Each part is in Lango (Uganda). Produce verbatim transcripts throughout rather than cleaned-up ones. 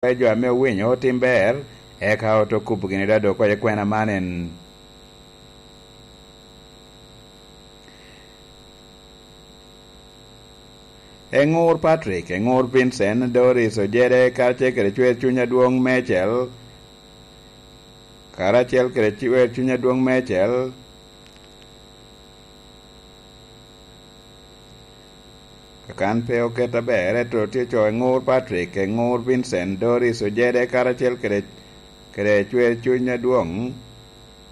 Ka jo ame owinyo otim ber, eka ote kubo gini dado oko i kwena man en. Eŋur Patrick, Eŋur Vincent, Doris Ojede, karacel kede Cwer Cuny Adwoŋ Mecel, karacel kede Cwer Cuny Adwoŋ Mecel, Kakan pe oket aber, ento tye co Eŋur Patrick, Eŋur Vincent, Doris Ojede, karacel kede, kede Cwer Cuny Adwoŋ.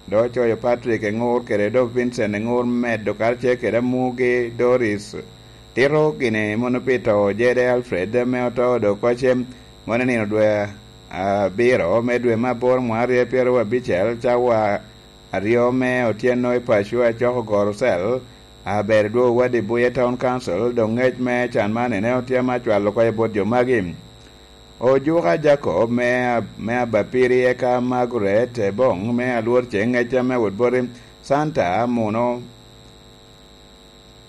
Dok ocoyo Patrick Eŋur kede dok Vincent Eŋur medo karacel kede amugi Doris. Tito gini mono pi to Ojede Alfred ame oto dok kocem mono i nino dwe abiro me dwe me aboro mwaka aryo pyeraryo abicel, cawa aryo me otyeno i paco acoko goro cel, aber dwogo wadi Buye Town Council, dok ngec me can man ene otye ame acwalo oko i bot jo magi. Ojuka Jacob me, me Abapiri eka Margaret Ebong me Alwor Ceng, ngec ame wot boti Santa Muno,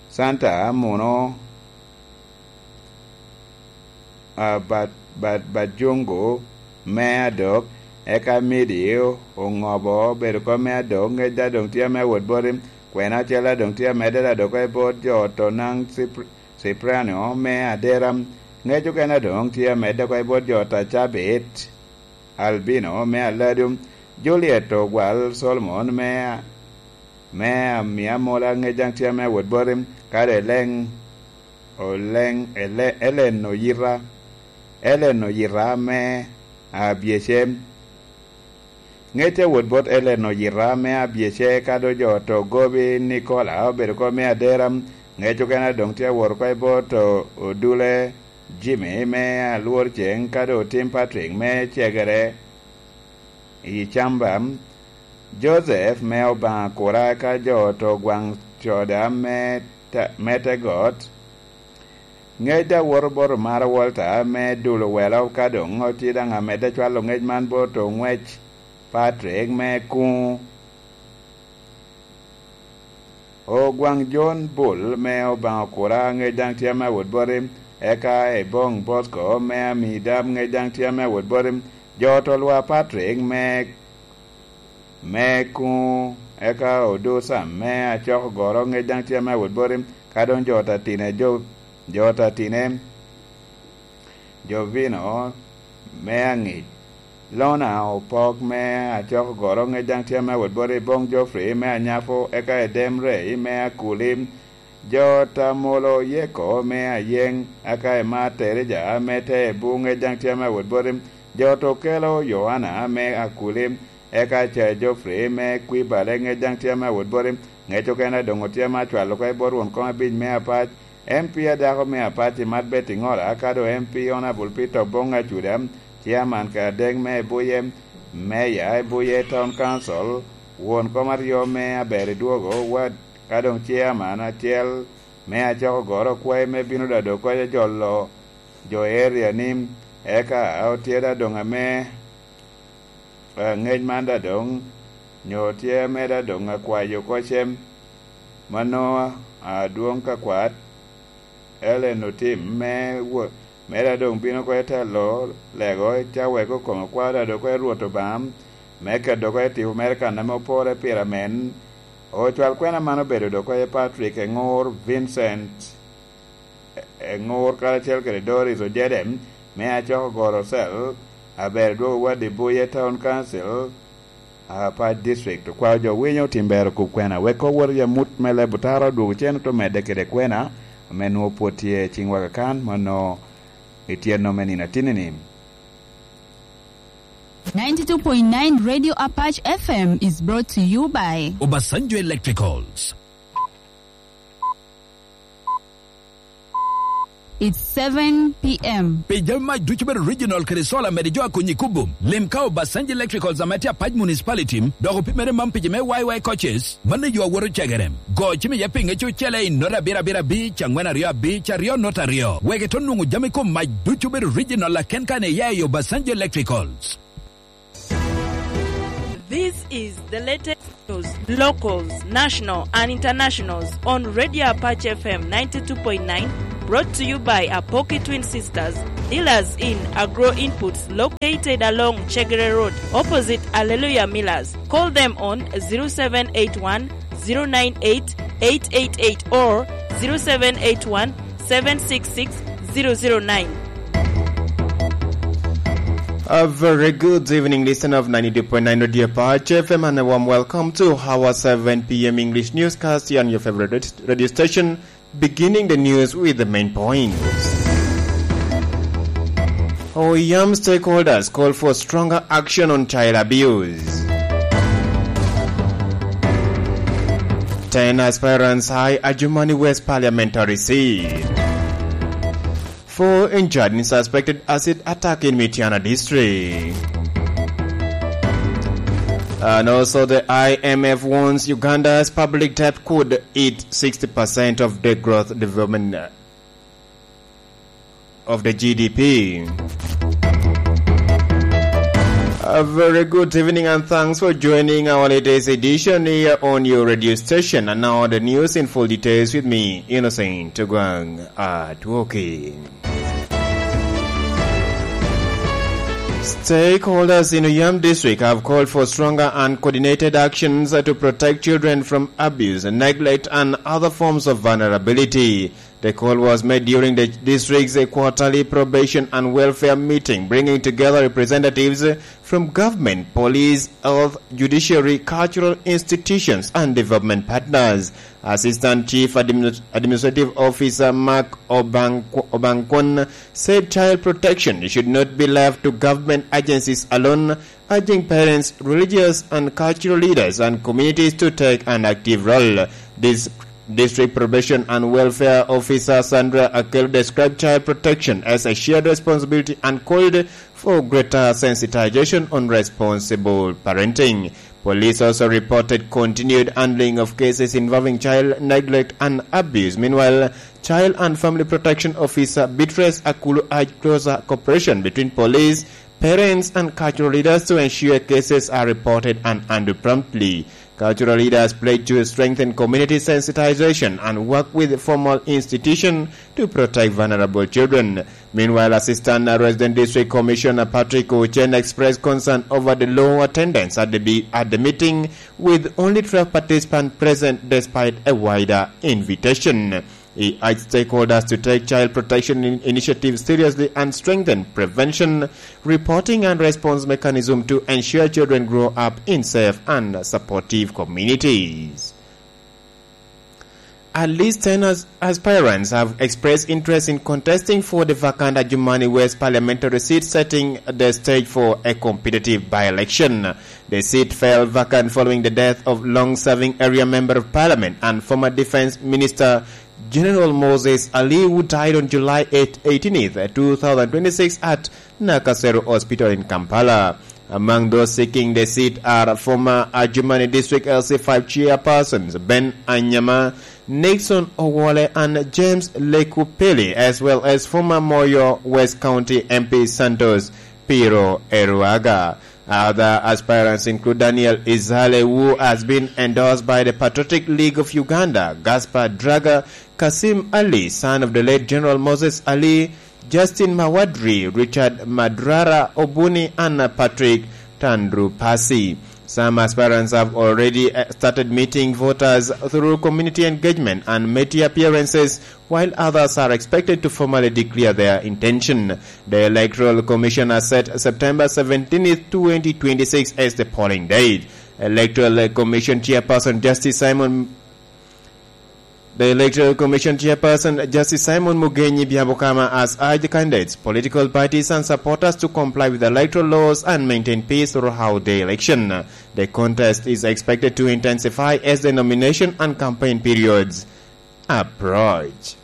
Santa Muno, a, Ba-, Ba-, Bajungu me adok, eka Midi Oŋobo obedo kom me adok, ngec daŋ doŋ tye ame wot boti, kwena acel daŋ doŋ tye amedde daŋ dok i bot jo Otonaŋ Cipr-, Cipriano me Adera, ngec okene daŋ doŋ tye amedde oko i bot jo Tacabit. Albino me Aladu, Juliet Ogwal Solomon me, me Amia Mola, ngec daŋ tye ame wot boti, kadi Eleŋ, Oleŋ, Ele-, Elen Oyita, Elen Oyita me Abyecem. Ngec a wot bot Elen Oyita me Abyece, kadi jo to gobi Nikola obedo kom me Adera, ngec okene doŋ tye awot oko i bot o-, Odule Jimmy me Alwor Ceng, kadi Otim Patrick me Cegere i Camba, Joseph me Obaŋa Kura, ka jo to gwaŋ coda me ta-, me te got. Ngec daŋ woto bot Omara Walter me Dul Owelo, ka doŋ otye daŋ amedde cwalo ngec man bot Oŋwec Patrick me Kuŋ. Ogwaŋ John Bull me Obaŋa Kura, ngec daŋ tye ame wot boti, eka Ebong Bosco me Amidab, ngec daŋ tye ame wot boti, jo to Lwa Patrick me, me Kuŋ, eka Odo Sam me Acok Ogoro, ngec daŋ tye ame wot boti, ka doŋ jo Tatine, jo, jo Tatine, Jovino me Aŋic, Lona Opok me Acok Ogoro, ngec daŋ tye ame wot boti, Bong Geoffrey me Anyapo, eka Edem Rey me Akuli, jo Tamolo Yeko me Ayeŋ, eka Emma Terija me Teebu, ngec daŋ tye ame wot boti, jo Tokelo Yohana me Akuli, eka Aca Geoffrey me Kwibale, ngec daŋ tye ame wot boti, ngec okene doŋ otye ame acwalo oko i bot won kom abic me Apac, M P a dako me Apac i Mat Betty Ŋola, ka doŋ M P Honourable Peter Obong Acuda, Chairman ka adek me Ebuye, Mayor Ebuye Town Council, won kom aryo me Aber i Dwogo Ward, ka doŋ Chairman acel me Acok Ogoro okwae me bino dado oko i jolo jo area ni, eka otye da doŋ ame, eh, ngec man da doŋ, nyo tye ame da doŋ akwayo oko cem, mano adwoŋ ka kwat, Ellen Otim me wo-, me da doŋ bino oko i telo lego, ca wek okome kwaro da doŋ oko i Rwot Obaŋa, me keto oko i tipo mere kan ame opore pire amen. Ocwal kwena man obedo doŋ oko i Patrick Eŋur Vincent. E-, Eŋur karacel kede Doris Ojede, me Acok Ogoro Cell, aber dwogo wadi Buye Town Council, Apac District. Okwao jo winyo otim ber okub kwena, wek owot i amut me leb otara odwogo cen ote medde kede kwena, ame nwoŋo pwod tye i ciŋwa kakan, mano i tyeno me nino atinni-ni. Ninety-two point nine Radio Apac F M is brought to you by Obasanjo Electricals. It's seven p.m. Pi jami mac ducu bedo original kede solar mede jo a konyi kubo. Lim ka Obasanjo Electricals ame tye Apac Municipality, dok opimere mam pici me Y Y coaches, mano yo awoto cegere. Go cim iye pi ŋec ocele i nota abiro abiro abic, angwen aryo abic, aryo nota aryo. Wek ito nwoŋo jami kom mac ducu bedo original aken kan iya i Obasanjo Electricals. This is the latest news, locals, national and internationals on Radio Apache F M ninety-two point nine, brought to you by Apoki Twin Sisters, Dealers in Agro Inputs located along Chegere Road, opposite Alleluia Millers. Call them on zero seven eight one, zero nine eight, eight eight eight or zero seven eight one, seven six six, zero zero nine. A very good evening, listener of ninety-two point nine Radio Patch F M, and a warm welcome to our seven p m English newscast here on your favorite radio station. Beginning the news with the main points. Oyam stakeholders call for stronger action on child abuse. Ten aspirants high Adjumani West parliamentary seat. Four injured in suspected acid attack in Mityana district. And also the I M F warns Uganda's public debt could eat sixty percent of the growth development, uh, of the G D P. A very good evening and thanks for joining our latest edition here on your radio station. And now the news in full details with me, Innocent Tugwang at Woki. Stakeholders in Uyam District have called for stronger and coordinated actions to protect children from abuse, neglect, and other forms of vulnerability. The call was made during the district's quarterly probation and welfare meeting, bringing together representatives from government, police, health, judiciary, cultural institutions, and development partners. Assistant Chief Admin-, Administrative Officer Mark Obang-, Obankon said child protection should not be left to government agencies alone, urging parents, religious and cultural leaders, and communities to take an active role. This district probation and welfare officer Sandra Akel described child protection as a shared responsibility and called for greater sensitization on responsible parenting. Police also reported continued handling of cases involving child neglect and abuse. Meanwhile, Child and Family Protection Officer Beatrice Akulu urged closer cooperation between police, parents, and cultural leaders to ensure cases are reported and handled promptly. Cultural leaders pledged to strengthen community sensitization and work with formal institutions to protect vulnerable children. Meanwhile, Assistant Resident District Commissioner Patrick Ochen expressed concern over the low attendance at the, be- at the meeting, with only twelve participants present despite a wider invitation. He urged stakeholders to take child protection in- initiatives seriously and strengthen prevention, reporting, and response mechanism to ensure children grow up in safe and supportive communities. At least ten as- aspirants have expressed interest in contesting for the vacant Adjumani West parliamentary seat, setting the stage for a competitive by-election. The seat fell vacant following the death of long-serving area member of parliament and former defense minister General Moses Ali, who died on July eight, eighteenth, two thousand twenty-six at Nakasero Hospital in Kampala. Among those seeking the seat are former Adjumani District L C five chairpersons Ben Anyama, Nixon Owole, and James Lekupeli, as well as former Moyo West County M P Santos Piro Eruaga. Other aspirants include Daniel Izale, who has been endorsed by the Patriotic League of Uganda, Gaspar Draga, Kasim Ali, son of the late General Moses Ali, Justin Mawadri, Richard Madrara Obuni, and Patrick Tandrupasi. Some aspirants have already, uh, started meeting voters through community engagement and media appearances, while others are expected to formally declare their intention. The Electoral Commission has set September seventeenth, twenty twenty-six as the polling date. Electoral Commission Chairperson Justice Simon The Electoral Commission Chairperson, Justice Simon Mugenyi Byabukama, has urged candidates, political parties, and supporters to comply with electoral laws and maintain peace throughout the election. The contest is expected to intensify as the nomination and campaign periods approach.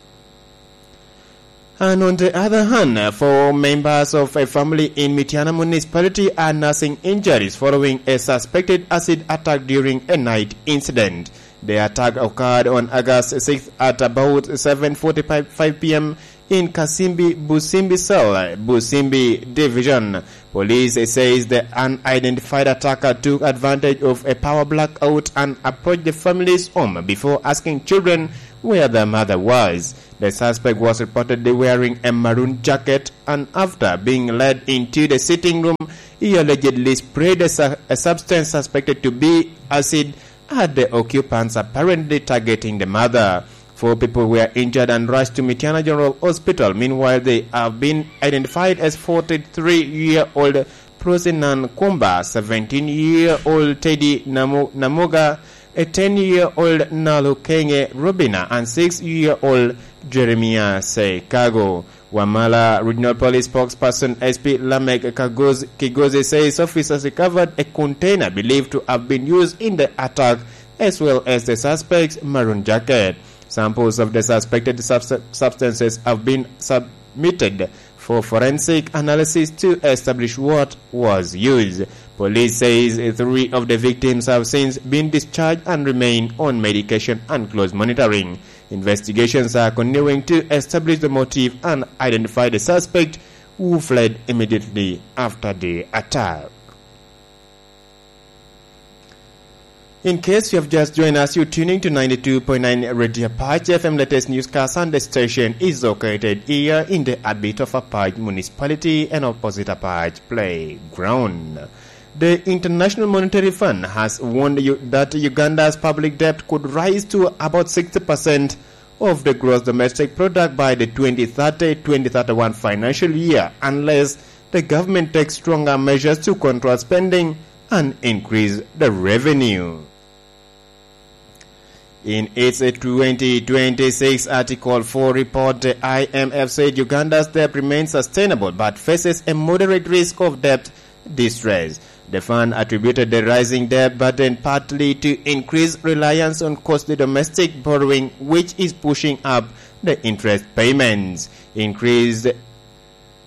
And on the other hand, four members of a family in Mityana Municipality are nursing injuries following a suspected acid attack during a night incident. The attack occurred on August sixth at about seven forty-five p m in Kasimbi Busimbi Cell, Busimbi Division. Police says the unidentified attacker took advantage of a power blackout and approached the family's home before asking children where the mother was. The suspect was reportedly wearing a maroon jacket, and after being led into the sitting room, he allegedly sprayed a, su- a substance suspected to be acid at the occupants, apparently targeting the mother. Four people were injured and rushed to Mityana General Hospital. Meanwhile, they have been identified as forty-three-year-old Prosinan Kumba, seventeen-year-old Teddy Namu- Namuga, a ten-year-old Nalukenge Rubina, and six-year-old Jeremiah Seikago. Wamala Regional Police Spokesperson S P Lamek Kagoz- Kigozi says officers recovered a container believed to have been used in the attack, as well as the suspect's maroon jacket. Samples of the suspected subs- substances have been submitted for forensic analysis to establish what was used. Police says three of the victims have since been discharged and remain on medication and close monitoring. Investigations are continuing to establish the motive and identify the suspect, who fled immediately after the attack. In case you have just joined us, you're tuning to ninety-two point nine Radio Apache F M. Latest newscast, and the station is located here in the heartbeat of Apache Municipality and opposite Apache Playground. The International Monetary Fund has warned you that Uganda's public debt could rise to about sixty percent of the gross domestic product by the twenty thirty twenty thirty-one financial year, unless the government takes stronger measures to control spending and increase the revenue. In its twenty twenty-six Article four report, the I M F said Uganda's debt remains sustainable but faces a moderate risk of debt distress. The fund attributed the rising debt burden partly to increased reliance on costly domestic borrowing, which is pushing up the interest payments. Increased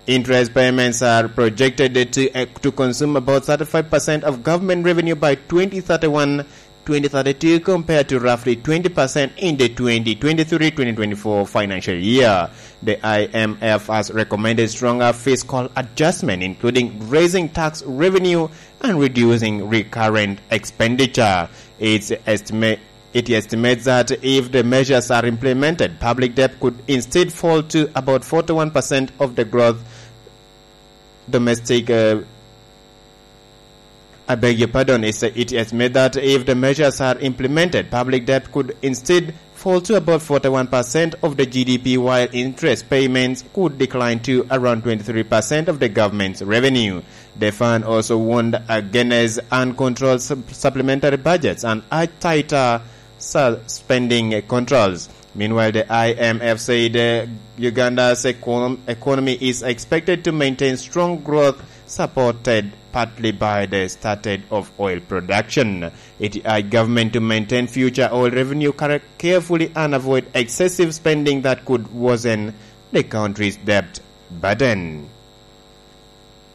interest payments are projected to, uh, to consume about thirty-five percent of government revenue by twenty thirty-one twenty thirty-two, compared to roughly twenty percent in the twenty twenty-three twenty twenty-four financial year. The I M F has recommended stronger fiscal adjustment, including raising tax revenue and reducing recurrent expenditure. It's estimate It estimates that if the measures are implemented, public debt could instead fall to about forty-one percent of the growth domestic, uh, I beg your pardon, it's, it estimates that if the measures are implemented, public debt could instead fall to about forty-one percent of the G D P, while interest payments could decline to around twenty-three percent of the government's revenue. The fund also warned against uncontrolled sup- supplementary budgets and urged tighter su- spending controls. Meanwhile, the I M F said, uh, Uganda's econ- economy is expected to maintain strong growth, supported partly by the started of oil production. It urged government to maintain future oil revenue care- carefully and avoid excessive spending that could worsen the country's debt burden.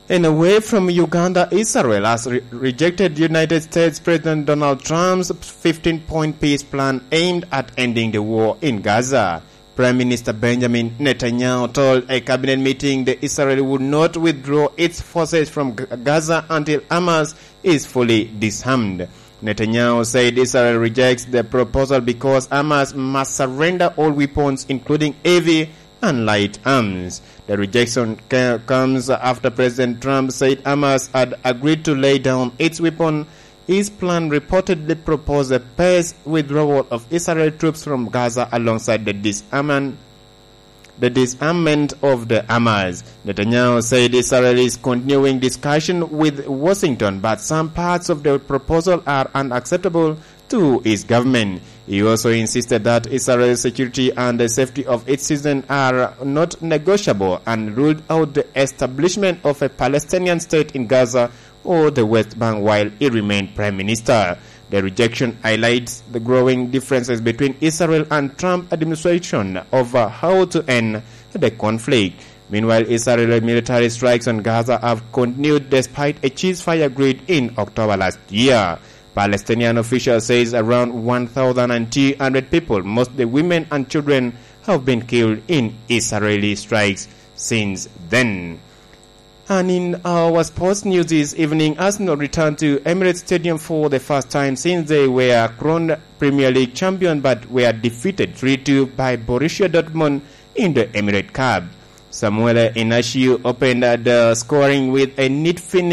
And away from Uganda, Israel has re- rejected United States President Donald Trump's fifteen-point peace plan aimed at ending the war in Gaza. Prime Minister Benjamin Netanyahu told a cabinet meeting that Israel would not withdraw its forces from G- Gaza until Hamas is fully disarmed. Netanyahu said Israel rejects the proposal because Hamas must surrender all weapons, including heavy and light arms. The rejection ca- comes after President Trump said Hamas had agreed to lay down its weapon. His plan reportedly proposed a paced withdrawal of Israel troops from Gaza alongside the disarmament the disarmament of the Hamas. Netanyahu said Israel is continuing discussion with Washington, but some parts of the proposal are unacceptable to his government. He also insisted that Israel's security and the safety of its citizens are not negotiable and ruled out the establishment of a Palestinian state in Gaza or the West Bank while he remained prime minister. The rejection highlights the growing differences between Israel and Trump administration over how to end the conflict. Meanwhile, Israeli military strikes on Gaza have continued despite a ceasefire agreed in October last year. Palestinian official says around one thousand two hundred people, mostly women and children, have been killed in Israeli strikes since then. And in our sports news this evening, Arsenal returned to Emirates Stadium for the first time since they were crowned Premier League champion but were defeated three two by Borussia Dortmund in the Emirates Cup. Samuel Inacio opened the scoring with a neat finish